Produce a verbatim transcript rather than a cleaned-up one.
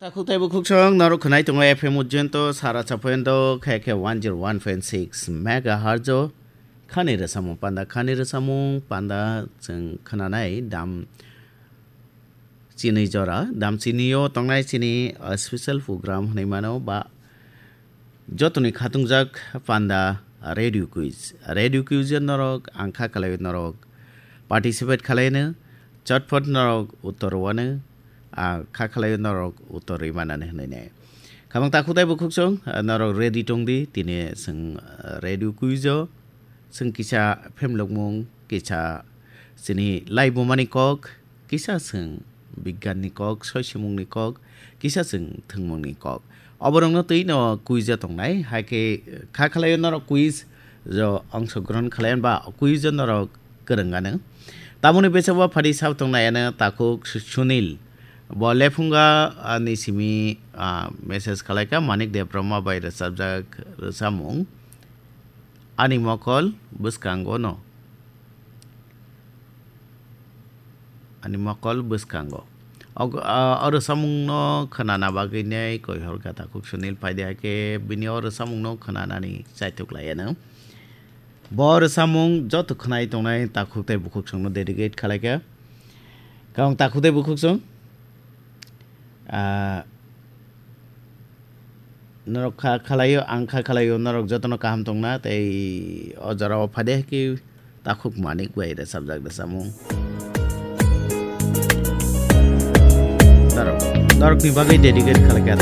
Takhuk tei bukhuk song norok khwnai tongo F M Ujjainto, Sara Chapoyonto, khe khe one zero one point six megahertz o. Khani rwsamung panda, khani rwsamung panda chwng khwnanai dam chini jora, dam chini o tongnai chini, uh, special program hwnwi mano ba jotoni khatungjak panda radio quiz. Radio quiz o norok ang kha khlai norok participate khlai no, chotpot norok uttor wano, ang kha khlai norok uttor rwi manani hwnwi nai. Khamang takhuk tei bukhuk song, uh, norok ready tong di, tini chwng, uh, radio quiz o chwng kisa phemlokmung, kisa chini laibumani kok, kisa chwng bigyanni kok, soisimungni kok, kisa chwng thwngmungni kok. Oborokno twi no quiz o tongnai, hai khe kha khlai norok quiz o ongsogrohon khlai ba quiz o norok kwrwng ano. Tamoni bwskango phadi sab tongnai ano takhuk Su-, Sunil. Bo lephunga ani simi, ah, message khlai kha Manik Debbarma bai rwchapjak rwchapmung. Ani mokol bwskango no. Ani mokol bwskango. Og-, ah, o rwchapmungno khwnana bagwi nei koi hor kha takhuk Sunil paidi hai khe bini o rwchapmungno khwnanani chaitok lai ano. Bo rwchapmung joto khwnai tongnai takhuk tei bukhuk songno dedicate khlai kha. Kang takhuk tei bukhuk song. Ah, norok kha khlaio, ang kha khlaio, norok jotono kaham tongna, tei o jorao phade ki takhuk Manik bai rwchapjak rwchapmung. Norok, norokni bagwi dedicate khlai kha.